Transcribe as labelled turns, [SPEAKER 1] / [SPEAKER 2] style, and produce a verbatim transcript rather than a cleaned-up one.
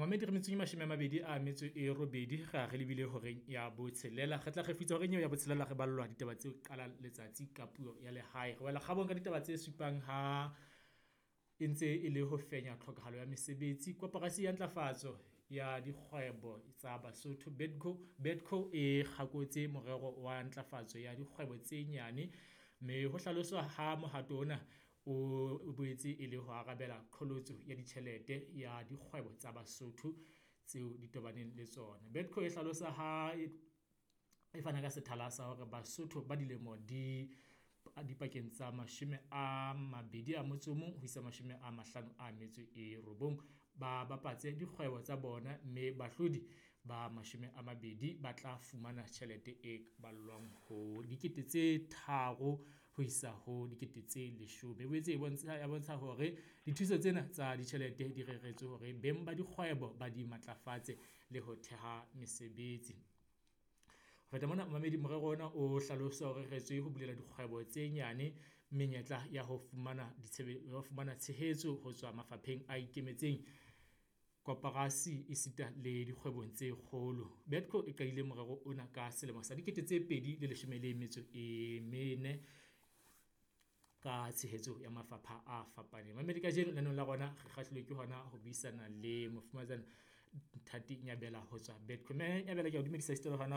[SPEAKER 1] Momamedi, re metso e mashome a mabedi a metso e robedi ra re lebile horeng ya botshelela. Re tla kgefutsa horeng eo ya botshelela re ballwa ditaba tse qalang letsatsi ka puo ya lehae. Re wela kgabong ka ditaba tse supang ha e ntse e le ho fenya tlhokahalo ya mesebetsi. Koporasi ya ntlafatso ya dikgwebo tsa Basotho BEDCO, BEDCO e kgakotse morero wa ntlafatso ya dikgwebo tse nyane, mme ho hlaloswa ha mohato ona o boetse e le ho arabela qholotso ya ditjhelete ya dikgwebo tsa Basotho tseo di tobaneng le tsona. BEDCO e hlalosa ha e fana ka sethala sa hore Basotho ba dilemo di dipakeng tsa mashome a mabedi a motso o mong ho isa mashome a mahlano a metso e robong, ba bapatse dikgwebo tsa bona, mme bahlodi ba mashome a mabedi ba tla fumana tjhelete e ballwang ho dikete tse tharo ho isa ho dikete tse leshome. E boetse e bontsha e bontsha hore dithuso tsena tsa ditjhelete di reretswe hore beng ba dikgwebo ba di matlafatse le ho theha mesebetsi. Ho feta mona, momamedi, morero ona o hlalosa o reretswe ho bulela dikgwebo tse nyane menyetla ya ho fumana ya ho fumana tshehetso ho tswa mafapheng a ikemetseng, koporasi esita le dikgwebong tse kgolo. BEDCO e qadile morero ona ka selemo sa dikete tse pedi le leshome le metso e mene ka tshehetso ya mafapha a fapaneng. Mamedi, kajeno lenaneong la rona re kgahluwe ke hona ho buisana le mofumahatsana Nthati Nyabela ho tswa BEDCO. Mme Nyabela, ke a o dumedisa esita le hona.